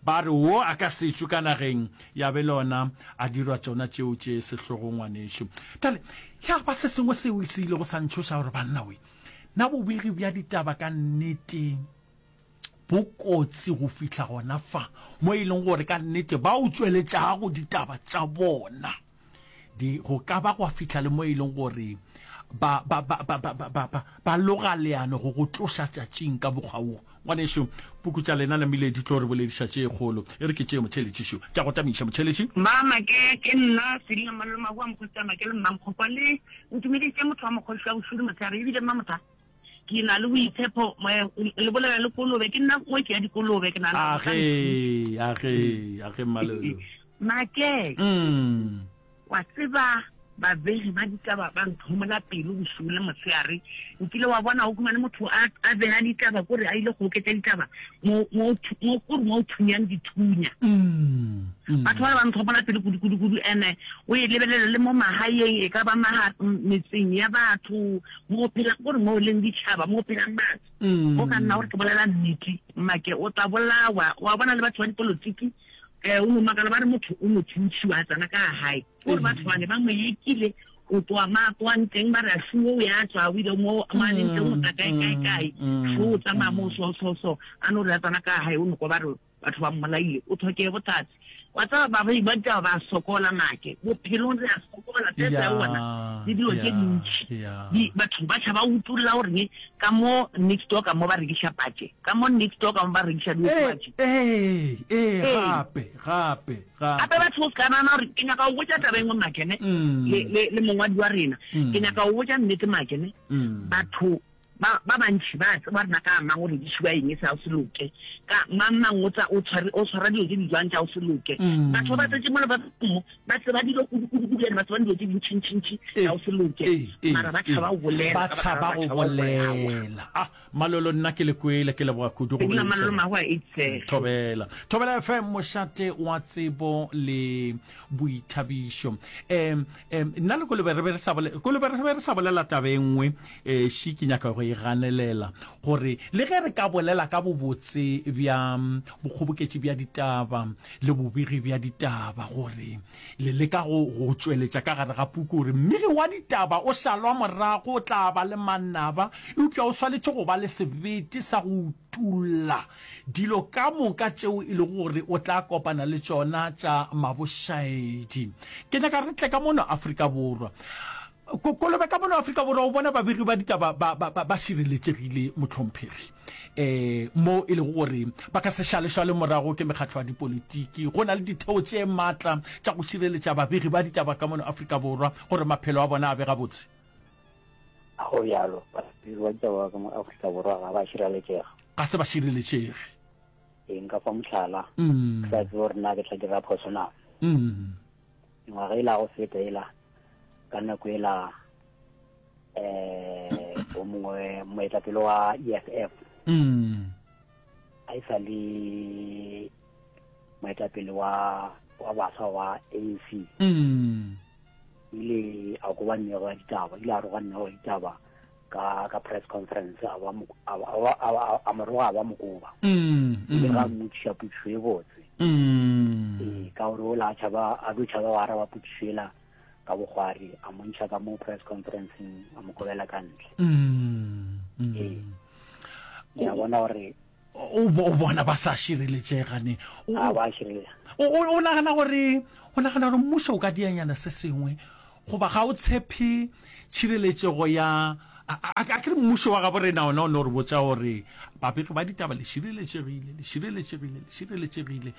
ba re wo a ka se tšwe ka nageng, ya be le ona a dirwa tšona tšeo tše sehlogo ngwanešu. Bjale ya ba se sengwe seo se ilego sa ntšhoša gore banna we, na bobegi bja ditaba ka nnete bo kotsi go fihla gona fa mo e leng gore ka nnete ba o tšweletšago ditaba tša bona di go ka ba gwa fihla le mo e leng gore ba ba ba ba ba ba ba ba loga leano go go tloša tšatšing ka mokgwa wo. Ngwanešu, puku tša lena namile di tlo re bolediša tše kgolo. E re ke tšee motheeletši šo. Ke a go tamiša, motheeletši. Mama, ke, ke nna Selina Mmalolo Mahu wa Mokgositsana, ke le Mmamkgokwa le ntumeditše motho wa mokgoši wa bošudu motshegare ebile Mmamotha. Ke na le boitshepo, le bolela le kolobe, ke nna ngwetši ya dikolobe, ke nagana gore ka Age, age, age Mmalolo. Make, Mm. wa tseba babegi ba ditaba ba nthomola pelo bošego le motshegare. Nkile wa bona o humane motho a, a bega ditaba kore a ile go oketša ditaba mo, mo, mo, kore mo o thunyang dithunya. Mm. Mm. Batho ba ba nthomola pelo kudu, kudu, kudu. Ene o e lebelele le mo magaeng, e ka ba maga, metseng ya batho, Mo phela gore mo leng ditšhaba, mo phelang batho. O ka nna gore ke bolela nnete, make o tla bolawa. Wa bona le batho ba dipolotiki, um o no makala ba re motho o no thuntšhiwa a tsena ka gae. Gore batho bane ba mo ekile o tloa ma tloang teng ba re a shuo o ya tswa o ile mo mo a leng teng o tla kae kae kae. Shuo o tsamaya mo so so so a no re a tsena ka gae o no kwa ba re Batho ba mmolaile, o tlhoke bohlatse. Wa tseba barei ba ditaba ba sokola make. Bophelong re a sokola, tsetse ya bona le dilo tše dintši. Di, batho ba tšhaba go utolla gore ne ka mo next door ka mo ba rekiša patše, ka mo next door ka mo ba rekiša diokobatši. Ee, ee, gape, gape, gape. Gape batho o se ka nagana gore ke nyaka go botša taba e nngwe make ne, le, le, le mongwadi wa rena. Ke nyaka go botša nnete make ne. Batho Ba, ba bantši ba a tseba rena ka mang o rekišiwa eng sa go se loke, ka mang mang o tsa, o tshware, o tshwara dilo tše di jwang tša go se loke. Batho ba ba tletše mo lefaseng mo, ba tseba dilo kudu, kudu, kudu, ene ba tseba dilo tše dintši, ntši, ntši tša go se loke, mara ba tšhaba go bolela, Ba ka baka la tšhaba gore go ba tšhaba go bolawa. bolela. Ah, Malolo nna ke le kwele, ke leboga kudu go Ke dula boledišana. Malolo Mahu a Eitshege. Thobela. Thobela FM, mošate wa tsebo le boithabišo. Um, um, nna le Kolobe re be re sa bolela, Kolobe re be re sa bolela taba e nngwe, eh, ši ke nyaka go e ganelela, gore le ge re ka bolela ka bobotse bja bokgoboketši bja ditaba le bobegi bja ditaba, gore le leka go, go tšweletša ka gare ga puku gore mmegi wa ditaba o šalwa morago, o tla ba le manaba, eupša o swanetše go ba le sebete sa go utolla Dilo ka moka tšeo e lego gore o tla kopana le tšona tša mabošaedi. Ke nyaka re tle ka mono Afrika Borwa. Ko, kolobe ka mono Afrika Borwa o bona babegi ba ditaba ba, ba, ba, ba šireletšegile, mohlomphegi. E, mo e lego gore ba ka se šalešwale morago ke mekgatlo ya dipolitiki. Go na le ditheo tše matla tša go šireletša babegi ba ditaba ka mono Afrika Borwa gore maphelo a bona a be gabotse. Ga go bjalo, babegi ba ditaba ba ka mo Afrika Borwa ga ba šireletšega. Ga se ba šireletšege. Ee, nka fa mohlala, ke sa tsebe gore na ke tla dira phoso na. Mengwaga e la go feta ela, ka nako ela um o mongwe moetapele wa EFF a e sa le moetapele wa wa baswa wa ANC ile a koba nnego ya ditaba ile a roga nnego ya ditaba ka ka press conference a ba a mo roga a ba mokoba mm, ile mm. ga mmotšiša potšišo e botse mm. ee ka gore o la tšhaba a tlo tšhaba wa araba potšišo ela. ka bokgwari a mo ntšha ka mo press conferenceng a mo kobela ka ntle. Ee. Ke a bona gore O o bona ba sa šireletšega ne. O a ba šireletša. O o nagana gore o nagana gore mmušo o ka dianyana se sengwe goba ga o tshepe tšhireletšego ya a ke re mmušo wa gabo rena ona o no re botša gore babegi ba ditaba le šireletšegile le šireletšegile le šireletšegile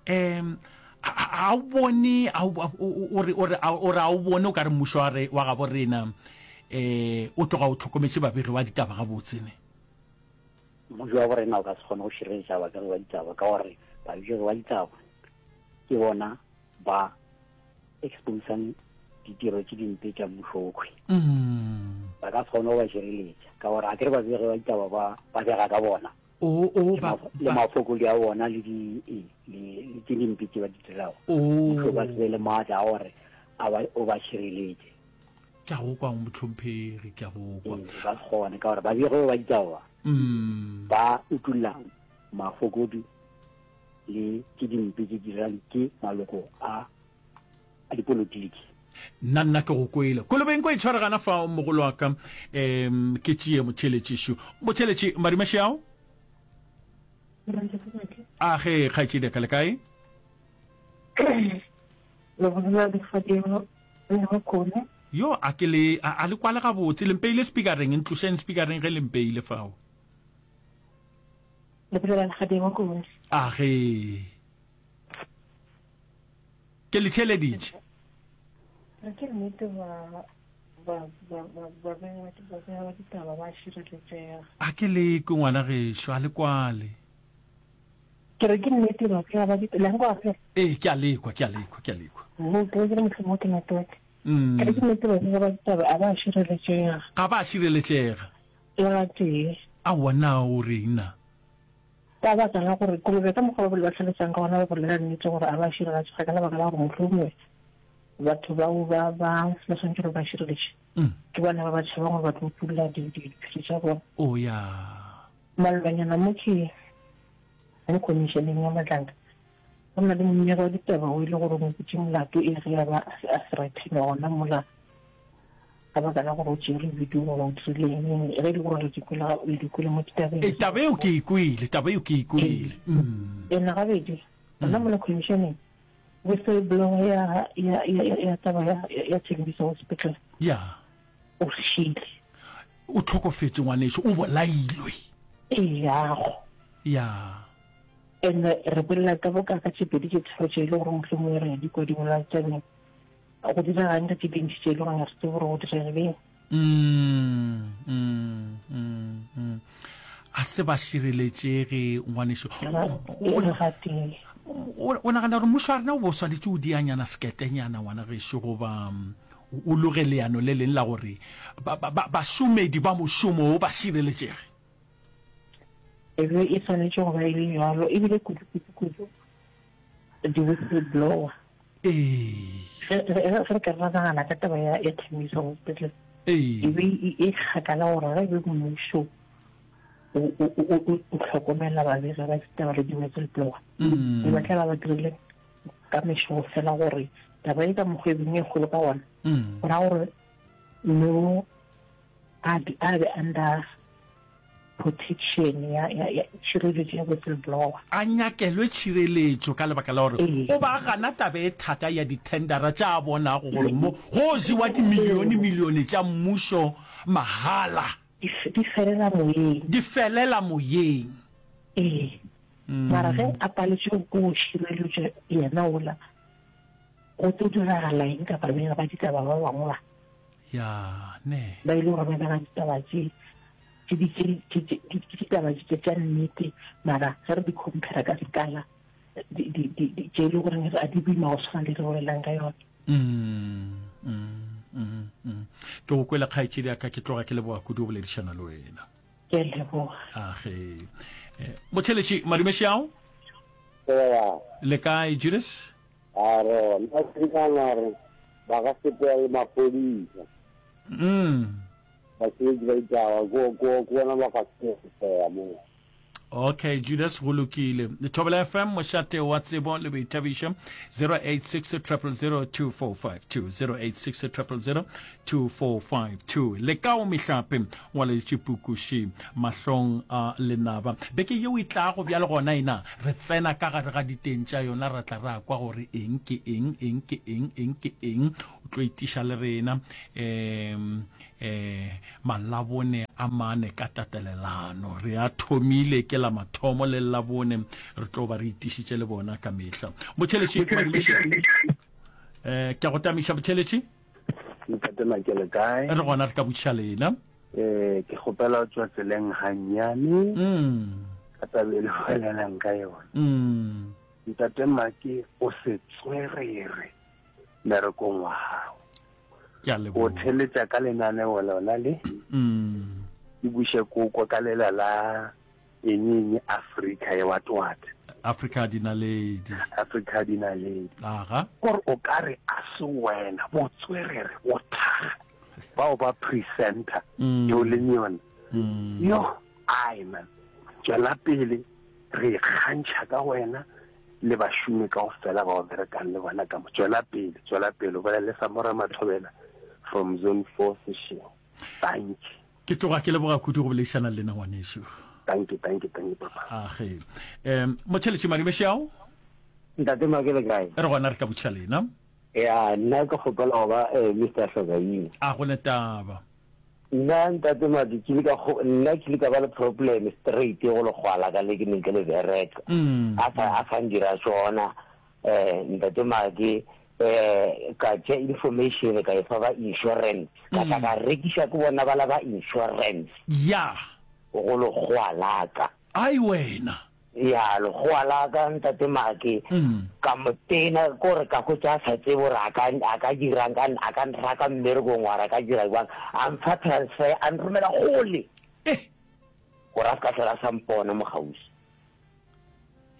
um a o bone o re o re o re a o bone o ka re mmušo wa re wa gabo rena um o tloga o tlhokometše babegi ba ditaba gabotse ne. Mmušo wa borena o ka se kgone go šireletša babegi ba ditaba ka gore babegi ba ditaba ke bona ba exposang ditiro tše dimpe tša mmušo okhwe. Ba ka se kgone go ba šireletša ka gore a kere babegi ba ditaba ba ba bega ka bona le mafokodi a bona le di le tše dimpe tše ba di dirago. Mmušo o ka se be le maatla a gore o ba šireletše. Ke a go kwa, mohlomphegi, ke a go kwa. Ee, ba se kgone ka gore babegi ba ba ditaba ba utulla mafokodi le tše dimpe tše dirang ke maloko a a dipolotiki. Nna nna ke go kwele. Kolobeng ko e tshware gana fao mogolo wa ka. Um ke tšee motšheletši šo. Motšheletši Madimaši ao? A ge kgaetšedi ka le kae? Le bolela legodimo le bokone. Yo, a ke le, a, a le kwale gabotse? Le mpeile speakereng, ntlošeng speakereng ge le mpeile fao. Le bolela legodimo kone. A ge. Ke le theeleditše. Re ke nnete ba ba ba ba ba ba ba ditaba ba šireletšega. A ke le kwe ngwana gešo, a le kwale. Ke re ke nnete ba ke ba di la nkwa ge. Ee, ke a lekwa, ke a lekwa, ke a lekwa. Mo ke re mohlomong ke network. Mm. Ke re ke nnete ba ke ba ditaba a ba šireletšega. Ga ba šireletšega. Le ga tee. Aowa na o reng na? Ka baka la gore kolobe ka mokgwa ba ba tlhalosang ka gona ba bolela nnete gore a ba šireletšega ka lebaka la gore mohlomongwe batho bao ba ba ba swanetše gore ba šireletše mm. ke bona ba ba tšhabang gore ba tlo utulla diphiri tša bona. Oh ya. Malobanyana mo ke mo khomišeneng ya Matlanka, go na le mmegi wa ditaba o e le gore o mo butše molato e ge a ba a threatenwa gona mola ka baka la gore o tšere video goba o dirile eng, ge e le gore le di kwele le di kwele mo ditabeng. Ee, taba eo ke e kwele, taba eo ke e kwele. Ena gabedi gona mola khomišeneng, whistleblower ya ya ya ya taba ya ya Tembisa Hospital. Ya. O šile. O tlhokofetše ngwanešu, o bolailwe. Eyago. Ya. And re bolela ka boka ka tše pedi tše tharo tše e le gore mohlomongwe re di kwa di bolela tabeng. Go diregang ka tše dintši tše e le gore ga re tsebe gore go diregileng. Mm, mm, mm, mm. A se ba šireletšege ngwanešu. O nagana gore mmušo wa rena o bo swanetše o dianyana seketenyana ngwana gešo goba o loge leano le leng la gore bašomedi ba mošomo wo ba šireletšege? E be e swanetše go ba e le bjalo, ebile kudu-kudu-kudu di-whistleblower. Ee. Ge re ka re nagana ka taba ya ya Tembisa Hospital, ee, e be e kgakala gore ge e be mmušo o hlokomela babegi ba ditaba le di-whistleblower, mm. ba tla ba ba dirile ka mešogo fela gore taba e ka mokgwa e beng e kgolo ka gona, mm. go ra gore no a be under protection ya, ya, ya tšhireletšo ya whistleblower. A nyakelwe tšhireletšo ka lebaka la gore o ba gana taba e thata ya dithendara tša a bonago gore mo go jewa dimilione-milione tša mmušo mahala. Di, di felela moyeng. Di felela moyeng. Ee. Mara ge a paletšwe ke go šireletša yena ola, go tlo diragala eng ka babegi ba ditaba ba bangwe ba? Ya, ne. Ba e le gore ba bega ditaba tše, tše di, tše, tše, tše, ke ditaba tše tša nnete, mara ge re di compare ka sekala, di, di, di, di, tše e le goreng a di boima go tshwana le re bolelang ka yone. Mm, mm, mm, mm. Ke go kwele kgaetšedi ya ka, ke tloga ke leboga kudu go boledišana le wena. Ke a leboga. Age. Eh, Motheletši, madumeši ao? Ea. Le kae, Judas? A re, nna ke nagana gore ba ka sepela le maphodisa. Mm. Basebetsi ba ditaba, ko, ko, ko bona ba ka sepela moo. Okay, Judas, go lokile. Thobela FM, mošate wa tsebo le boithabišo, 086 000 2452, 086 000 2452. Le kao mehlape, ngwaleditše pukuši mahlong a lenaba. Beke yeo e tlago bjale gona ena, re tsena ka gare ga diteng tša yona, ra tla ra kwa gore eng ke eng, eng ke eng, eng ke eng. O tlo itiša le rena. Um eh malabone a mane ka tatelelano re a thomile ke la mathomo le labone re tlo ba re itišitše le bona ka mehla motheletši eh ke go tamiša motheletši ntate Makele kae re gona re ka botšiša lena eh ke kgopela o tswa tseleng gannyane mm ka tabe le bolelang ka yona mm ntate Make o se tswerere merekong wa gago Ke a O leboga. theletša ka lenaneo lona le. Mm. Ke buše koko ka lela la eng eng Afrika ye what what. Afrika dinaledi. Afrika dinaledi. Aga. Kore o ka re a se wena botswerere bothaga bao ba presenter Mm. yo leng yona. Mm. Yo ai man. Tšwela pele re ikgantšha ka wena le bašomi kaofela ba o berekang le bona ka mo. Tšwela pele, tšwela pele, o bolela le Samora Mathobela from Zone 4 Seshego. Dankie. Ke tloga ke leboga kudu go boledišana le lena ngwanešu. Dankie, dankie, dankie papa. Age. Um Motšheletši Marimešao. Ntate Make le kae? Re gona re ka botšiša lena. Ya, nna ke kgopela go ba eh, Mr. Hlokaina. A go ne taba. Nna ntate Madi ke ile ka nna ke ile ka ba le problem straight go lekgowa la ka le ke neng ke le bereka a sa a sa ndira sona eh ntate Madi eh ka tše information ka e fa ba insurance ka tla ka rekiša ke bona bala ba insurance ya go lekgowa la ka ai wena Ya, lekgowa la ka, Ntate Make, ka mo tena, ke gore ka hwetša a sa tsebe gore a ka, a ka dirang, ka, a ka nraka mmerekong or a ka dira bjang. A mpha transfer, a nromela kgole. Eh. Gore a se ka hlola a sa mpona mo kgauswi.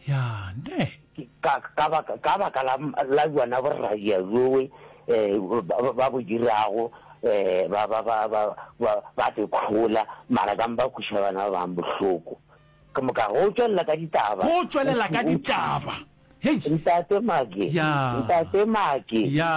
Ya, ne. Ka, ka baka, ka baka la, la bjona boradia bjowe, eh, ba, ba bo dirago, eh, ba, ba, ba, ba, ba, ba te khola, mara ka mpa kweša bana ba bang bohloko. Ke moka go tšwelela ka ditaba. Go tšwelela ka ditaba. Hei. Ntate Make. Ya. Ntate Make. Ya.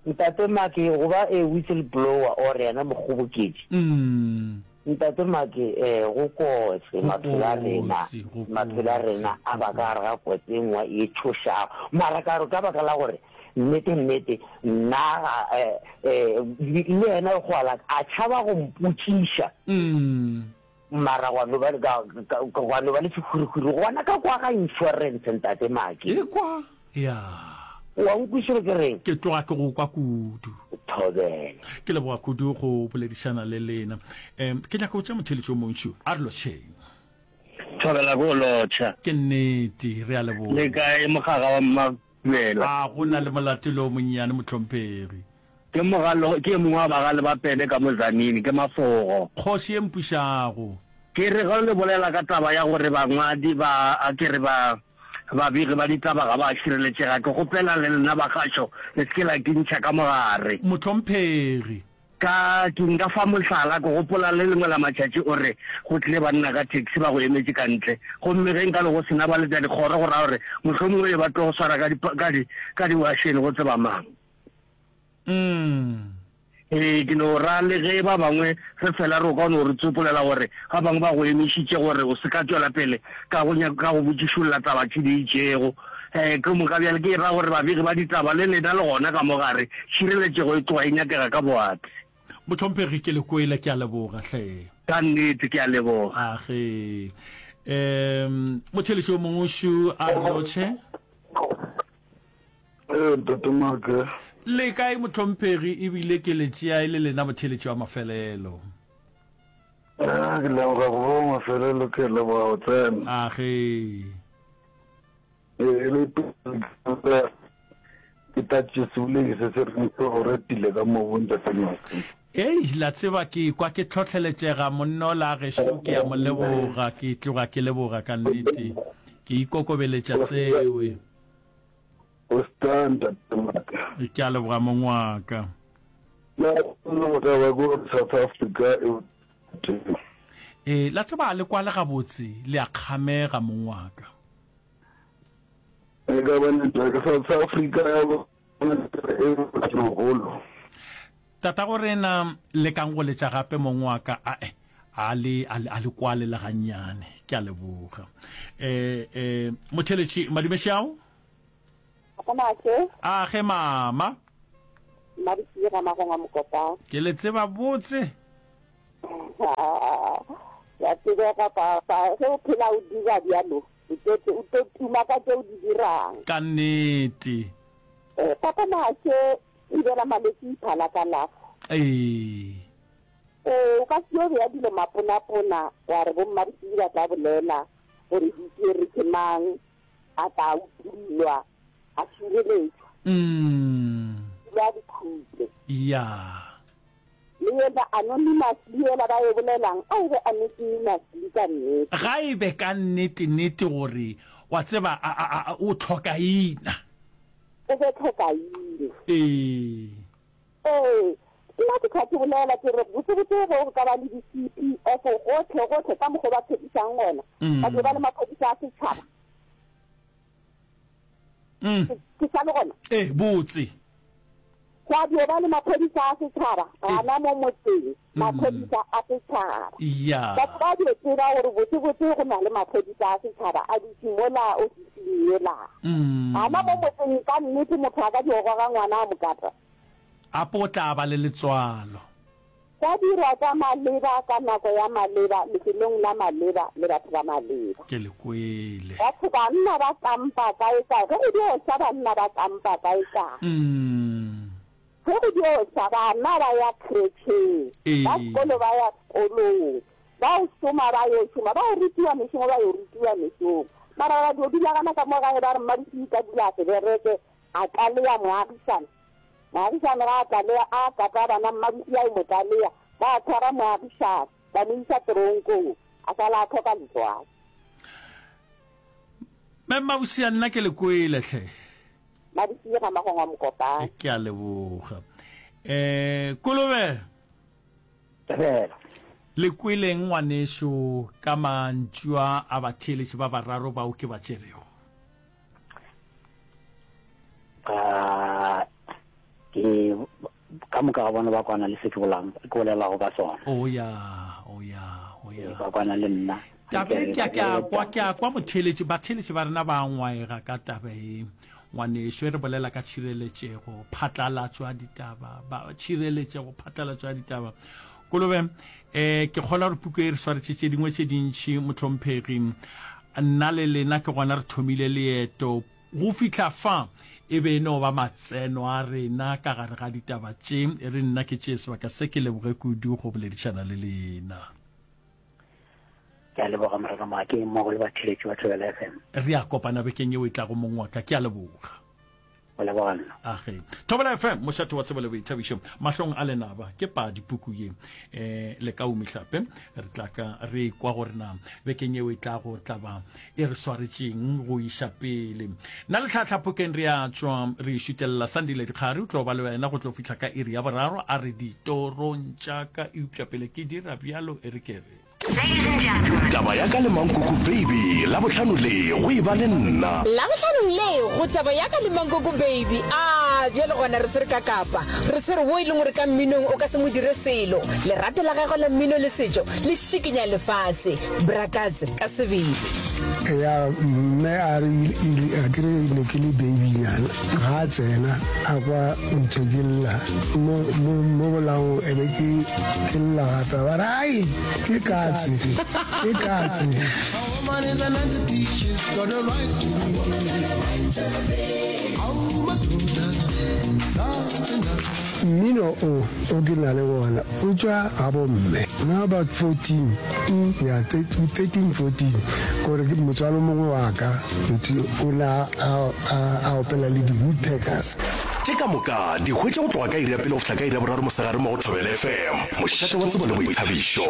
Ntate Make go ba a whistle blower or yena mokgoboketši. Mm. Ntate Make eh go kotsi maphelo a rena. Go Maphelo a rena a ba ka gare ga kotsi e nngwe e tšhošago. Mara ka re ka baka la gore nnete nnete nna ga eh eh le yena go ala a tšhaba go mpotšiša. Mm. Mara gwa no ba le ka, ka, gwa no ba le sehwirihwiri gona ka kwa ga insurance, Ntate Maki. Ekwa? Ya. Wa nkwešiša ke reng? Ke tloga ke go kwa kudu. Thobela. Ke leboga kudu go boledišana le lena. Um, ke nyaka go tšea motheeletši o mongwe šo. A re lotšheng. Thobela ko lotšha. Ke nnete, re a leboga. Le kae mogaga wa Mmabela? A go na le molato le o monnyane, mohlomphegi. Ke mogalo, ke e mongwe wa bagale ba Pele ka mo Tzaneen, ke Mafogo. Kgoši e mpušago. Ke re ge le bolela ka taba ya gore bangwadi ba, a ke re ba, babegi ba ditaba ga ba šireletšega, ke kgopela le lena ba kgašo le se ke la ke ntšha ka mogare. Mohlomphegi. Ka, ke nka fa mohlala, ke gopola le lengwe la matšatši o re go tlile banna ka taxi ba go emetše ka ntle, gomme ge nka be go se na baletadikgoro go ra gore mohlomongwe be ba tlo go swara ka di, ka di, ka diwašene go tseba mang. Mm. Ee, ke no ra le ge ba bangwe re fela re o ka no re tsopolela gore ba bangwe ba go emišitše gore o se ka tšwela pele ka go nyaka ka go botšišolla taba tše di itšego. Eh, ke moka bjale ke ra gore babegi ba ditaba le lena le gona ka mo gare, tšhireletšego e tloga e nyakega ka boati. Mohlomphegi, ke le kwele, ke a leboga hle. Ka nnete, ke a leboga. Age. Um, motheeletši o mongwe šo a re lotšhe. Ee, Ntate Make. Le kae mohlomphegi ebile ke le tšea e le lena motheeletši wa mafelelo. Ah, ke leboga go ba wa mafelelo, ke leboga go tsena. Age. Ee, e le pele ke tatše seboledi se se reng se go retile ka mobu Ntate Make. Ei, la tseba ke kwa ke hlohleletšega monna ola gešo ke a mo leboga, ke tloga ke leboga ka nnete. Ke ikokobeletša sewe. O star ntate waka. Ke a leboga mong wa ka. Na go taba ke gore South Africa e teng. E, la tseba a le kwale gabotse, le a kgamega, mong wa ka. E ka ba network South Africa ya bona e mogolo. Tatago rena lekang go letša gape mong wa ka ae a le a le a le kwale le gannyane ke a leboga eh eh motheletši madumešao Papa A ge mama. Mmadisile ga Magongwa Mokopane. Ke le tseba botse. Ya tsebega papa, ge o phela o dira bjalo, o tlo o tlo tuma ka tše o di dirang. Ka nnete. Eh, papa Maake, thibela malwetši iphala kalafo. Ee. Ee, o ka se yo bea dilo maponapona wa re bommadisidi ba tla bolela gore di tšere ke mang. a tla utollwa, a šireletšwa. Dilo a di khutše. Ya. Le yena anonymously yela ba e bolelang, a e be anonymously ka nnete. Ga e be ka nnete-nnete gore, wa tseba, a, a, a, o tlhokaina. O be tlhokaina. Ee. Ee, nna ke tla ke bolela ke re botsebotse ge go ka ba le di-C_P_F gohle gohle ka mokgwa o ba tshepišang gona, ba dio ba le maphodisa a setšhaba. Ke sa le gona? Ee, botse. Gwa dio ba le maphodisa a setšhaba gana mo motseng, maphodisa a setšhaba. Batho ba dio tseba gore botsebotse go na le maphodisa a setšhaba a dutše mola ofising yela. Gana mo motseng ka nnete motho a ka dio goga ngwana a mo kata. Apo o tla ba le letswalo. Gwa dirwa tša maleba ka nako ya maleba lefelong la maleba le batho ba maleba. Ke le kwele. Batho banna ba kampa kae kae ge go dio sa banna ba kampa kae kae. Ge go dio sa bana ba ya khretšheng, ba sekolo ba ya sekolong, ba o šoma ba yo šoma, ba o rutiwa mešomo ba yo rutiwa mešomo. Mara ba dio dula gana ka mo gae ba re mmadiswi ka dula a se bereke a tlaleya moagišane. Moagišane ga a tlalea, a kata bana, mmabuši a yo mo tlalea. Ba tshwara moagišane, ba mo iša teronkong, a šala a hloka letswai. Mme Mmabuši a nna ke le kwele hle. Mmabuši ga Magongwa Mokopane. Ke a leboga. Eh, Kolobe. Fela. Le kweleng ngwanešu ka mantšu a a batheeletši ba bararo bao ke ba tšerego? Ah, ke ka moka ga bona ba kwana le se ke bolang ke bolelago ka sona. Oh ya, oh ya, oh ya. Ba kwana le nna. Taba e ke a ke a kwa ke a kwa motheeletši batheeletši ba rena ba ngwaega ka taba e ngwanešu e re bolela ka tšhireletšego phatlalatšo ya ditaba ba tšhireletšego phatlalatšo ya ditaba kolobe eh ke kgolwa gore puku e re swaretše tše dingwe tše dintši mohlomphegi Nna le lena ke gona re thomile leeto. Go fihla fa, e be e no ba matseno a rena ka gare ga ditaba tše. E re nna ke tšee sebaka se ke leboge kudu go boledišana le lena. Ke a leboga Morena Moakeng mmogo le batheeletši ba Thobela FM. Re a kopana bekeng yeo e tlago mong wa ka. Ke a leboga. Go leboga nna. Age. Thobela FM, mošate wa tsebo le boithabišo. Mahlong a lenaba, ke padi puku ye. E, le ka umihlape, re tla ka re kwa gore na bekeng yeo e tlago tla ba e re swaretšeng go iša pele. Nna le tlhahla phokeng re a tšwa re šutelela Sandile Dikgari o tlo ba le wena go tlo fihla ka iri ya boraro a re ditorong tša ka eupša pele ke dira bjalo e re ke re Taba ya ka le Mankoko Baby, Labohlano le go e ba le nna. Labohlanong le go Taba ya ka le Mankoko Baby. A bjale gona re tshwere ka kapa. Re tshwere wo e leng gore ka mminong o ka se mo dire selo. Lerato la gagwe la mmino le setšo le šikinya lefase. Bra Katse ka sebele. Ya mme a re a ke re ne ke le babynyana ga a tsena a kwa ntho ke lla mo mo mo bolaong e be ke ke lla gape ba re ai ke katse ke katse Mmino o o ke na le wona o tšwa ga bomme na about 14 ya 13 14 gore ke motswalo mongwe wa ka o ne a opela le di-woodpeckers. Tše ka moka di hwetša go tloga ka iri ya pele go fihla ka iri ya boraro mosegare mo go Thobela FM, mošate wa tsebo le boithabišo.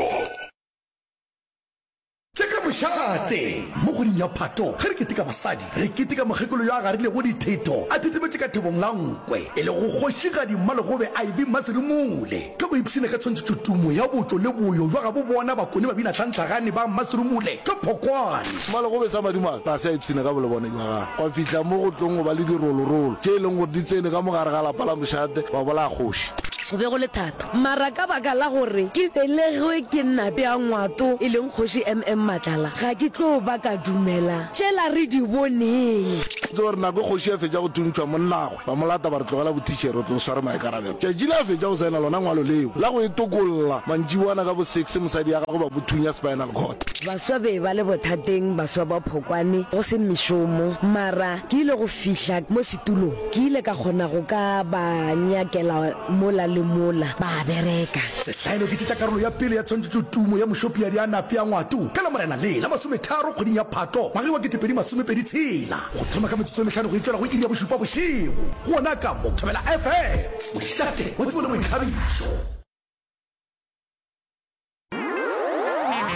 Tše ka. mošate! Mo kgweding ya Phato, ge re keteka basadi, re keteka mokgekolo yo a garilego dithetho a thethemetše ka thebong la nkwe, e lego Kgošigadi Mmalegobe Ivy Mmaserumule. Ka go ipshina ka tshwantšhetšotumo ya botšo le boyo bja gabo bona Bakone ba bina tlhantlhagane ba Mmaserumule ka Phokwane. Mmalegobe sa madimabe ga se a ipshina ka bolebone bja gagwe, gwa fihla mo go tlong go ba le dirolorolo tše e leng gore di tsene ka mo gare ga lapa la mošate ba bolaya kgoši. Go be go le thata. Mara ka baka la gore ke belegwe ke Nape a Ngwato, e leng Kgoši MM Matlala, ga ke tlo ba ka dumela tšela re di boneng. Tseba gore nako e kgoši a fetša go thuntšhwa, monnagwe ba mo lata ba re tlogela bothišere o tlo sware maikarabelo. Tšatši le a fetša go saena lona ngwalo leo la go e tokolla, mantšiboana ka bo six mosadi ya gagwe ba mo thunya spinal cord. Baswa be ba le bothateng, baswa ba Phokwane, go se mešomo. Mara ke ile go fihla mo setulong, ke ile ka kgona go ka ba nyakela mola le mola, ba bereka. Sehlaelo ke tše tša karolo ya pele ya tshwantšhetšotumo ya Mošopiadi a Nape a Ngwato ka Lamorena le la masometharo kgweding ya Phato ngwageng wa 2026 go thoma ka metsotso e mehlano go e tšwela go iri ya bošupa bošego gona ka mo Thobela FM, mošate wa tsebo le boithabišo.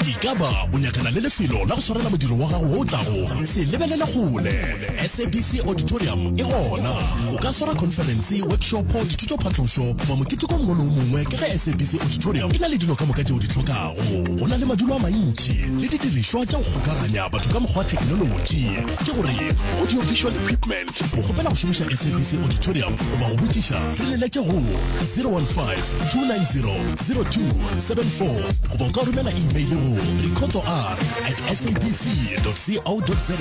Ekaba o nyakana le lefelo la go swarela modiro wa gago wo o tlago? Se lebelele kgole. SABC Auditorium e gona. O ka swara khonferense, workshopo, dithutophatlošo goba moketeko o mongwe le o mongwe ka ge SABC Auditorium e na le dilo ka moka tše o di hlokago. Go na le madulo a mantši le didirišwa tša go kgokaganya batho ka mokgwa wa theknolotši, ke gore audio-visual equipment. Go kgopela go šomiša SABC Auditorium goba go botšiša, re leletše go 015 290 0274 goba o ka romela email go rikhotsoR at sabc.co.za.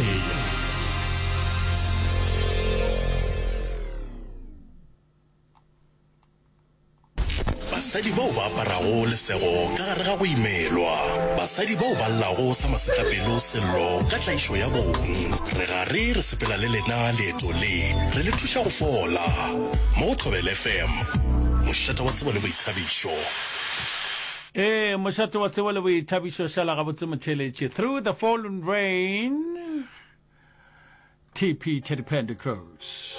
Basadi bao ba aparago lesego ka gare ga go imelwa. Basadi bao ba llago sa masetlapelo sello ka tlaišo ya bong. Re gare re sepela le lena leeto le, re le thuša go fola. Mo go Thobela FM, mošate wa tsebo le boithabišo. Ee, mošate wa tsebo le boithabišo, šala gabotse motheeletši. Through the fallen rain, TP Teddy Pendergrass.